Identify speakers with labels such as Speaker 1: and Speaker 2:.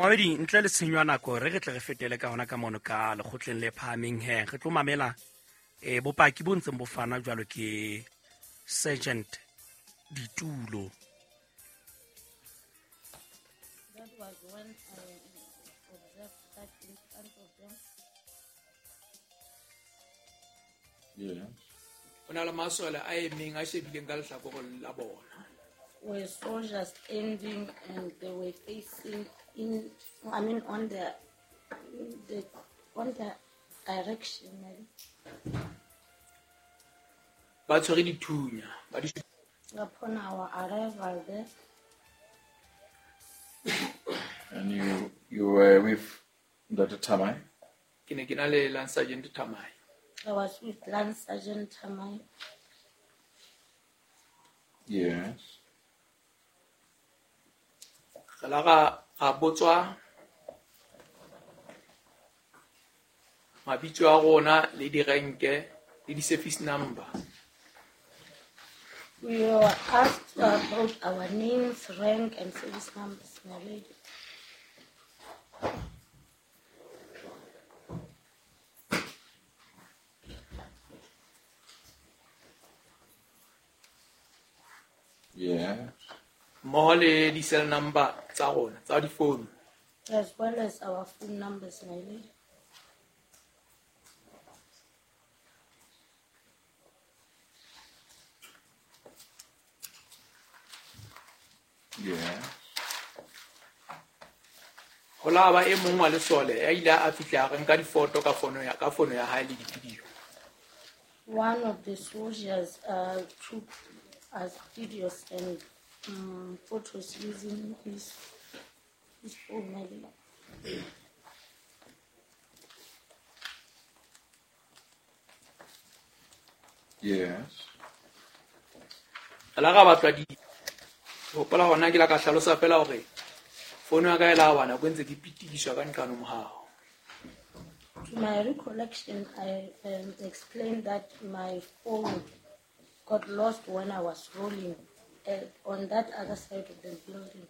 Speaker 1: Momamedi, ntle le tshenyo ya nako, re re tle re fetele ka hona ka mono ka lekgotleng le phahameng he. Re tlo mamela bopaki bo ntseng bo fana jwalo ke Sergeant Ditulo.
Speaker 2: That was when I observed that in front of them.
Speaker 3: Yeah.
Speaker 4: Ho na le masole a emeng a shebileng ka lehlakoreng la bona.
Speaker 2: Were soldiers standing and they were facing in, I mean on the direction.
Speaker 4: Ba tshwere dithunya, ba di
Speaker 2: Upon our arrival there.
Speaker 3: And you were with Dr. Tamai?
Speaker 4: Ke ne ke na le Lance Sergeant Tamai.
Speaker 2: I was with Lance Sergeant Tamai.
Speaker 3: Yes.
Speaker 4: Re la ra botswa mabitso a rona le direnke le di-service number.
Speaker 2: We were asked about our names, rank, and service numbers, my lady.
Speaker 3: Yeah.
Speaker 4: Mmoho le di-cell number tsa rona, tsa difounu.
Speaker 2: As well as our phone numbers, my lady.
Speaker 3: Yeah.
Speaker 4: Ho la ba e mong wa lesole ya ile a fihla a re nka difoto ka fono ya hae le di-video.
Speaker 2: One of the soldiers took us videos and photos using his phone, my lady.
Speaker 3: Yes.
Speaker 4: Re la ra batlwa di hopola hona ke la ka hlalosa fela hore fono ya ka e la wa nako e ntse ke pitikiswa ka nqano mohao.
Speaker 2: To my recollection, I explained that my phone got lost when I was rolling on that other side of the building.